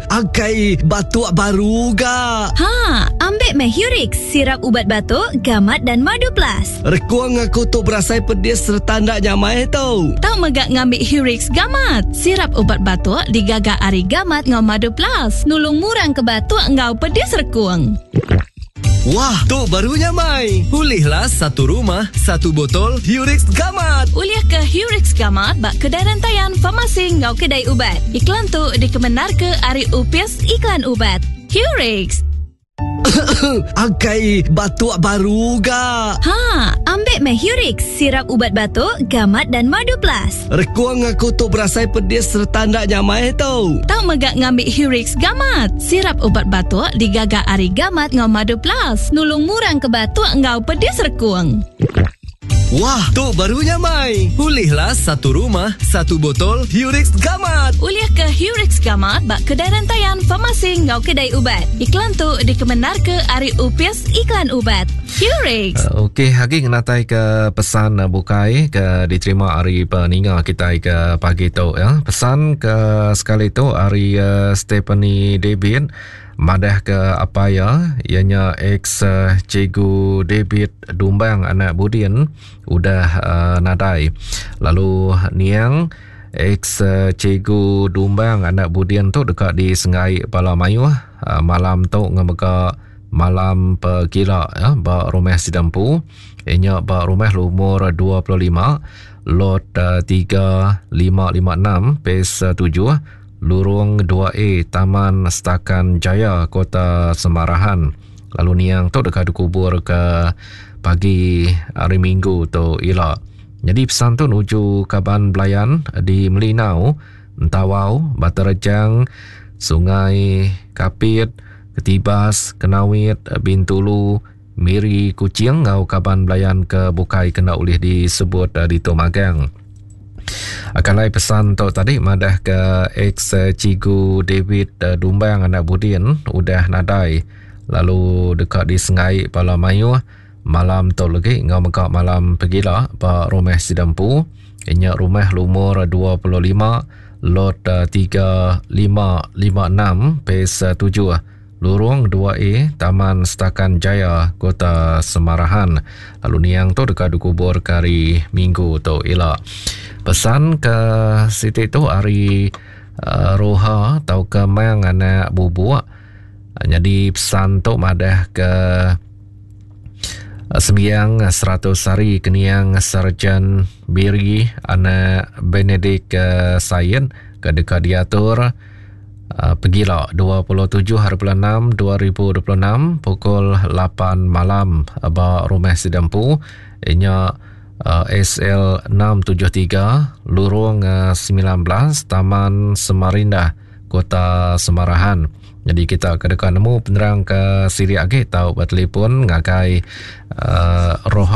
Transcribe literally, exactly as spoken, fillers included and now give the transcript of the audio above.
Akai batuk baru ga. Ha, ambil meh Hurix, sirap ubat batuk, gamat dan madu plus. Rekuang aku tu berasai pedis serta ndak nyamai tau. Tau megak ngambil Hurix gamat. Sirap ubat batuk digaga ari gamat ngau madu plus. Nulung murang ke batuk ngau pedis rekuang. Wah, tu baru nyamai. Pulihlah satu rumah, satu botol Hurix Gamat. Ulih ke Hurix Gamat bak kedai rantaian farmasi ngau kedai ubat. Iklan tu dikemenar ke ari Upis Iklan Ubat. Hurix. Akai batuk baru ga. Ha, ambil meh Hurix, sirap ubat batuk, gamat dan madu plus. Rekuang aku tu berasai pedis serta ndak nyamai tau. Tau megak ngambil Hurix gamat. Sirap ubat batuk digaga ari gamat ngau madu plus. Nulung murang ke batuk ngau pedis rekuang. Wah, tu baru nyamai. Pulihlah satu rumah, satu botol Hurix Gamat. Ulih ke Hurix Gamat bak kedai rantaian farmasi ngau kedai ubat. Iklan tu dikemenar ke ari Upis Iklan Ubat. Hurix. Uh, Okey, hari ngenatai ke pesan uh, bukai ke diterima hari peninga kita ke pagi tu ya. Pesan ke sekali tu hari uh, Stephanie David madah ke apa ya ianya ex uh, cikgu David Dumbang anak Budin udah uh, nadai. Lalu niang ex uh, cikgu Dumbang anak Budin tu dekat di Sengai Pala Mayuh uh, malam tu ngemega malam pegila ya ba rumah Sidampu ianya ba rumah lumur dua puluh lima lot uh, tiga lima lima enam pes tujuh Lurung dua A Taman Setakan Jaya Kota Semarahan. Lalu niang tu dekat dikubur ke pagi hari Minggu tu ila. Jadi pesan tu nuju kaban belayan di Melinau, Entawau, Batu Rejang, Sungai Kapit, Ketibas, Kenawit, Bintulu, Miri, Kuching ngau kaban belayan ke bukai kena ulih disebut di Tomagang. Akan lai pesan tu tadi madah ke ex cikgu David Dumbang anak Budin udah nadai lalu dekat di Sengai Pala Mayuh malam tu lagi ngau mega malam pegila ba rumah Sidampu inya rumah lumur dua puluh lima lot tiga lima lima enam pes tujuh Lurung dua A Taman Setakan Jaya Kota Semarahan. Lalu niang tu dekat dikubur ke hari Minggu tu ila. Pesan ke siti tu hari uh, Roha atau ke Mang anak bubuk. Jadi pesan tu madah ke uh, sembiang seratus hari keniang Sarjan Biri anak Benedict uh, Said ke dekat diatur Uh, pergilah dua puluh tujuh hari bulan enam dua ribu dua puluh enam pukul lapan malam ba rumah Sidampu inya uh, S L enam tujuh tiga Lurung uh, sembilan belas Taman Semarinda Kota Semarahan. Jadi kita kedekan nemu penerang ke siri agi tau bertelefon ngagai uh, Roha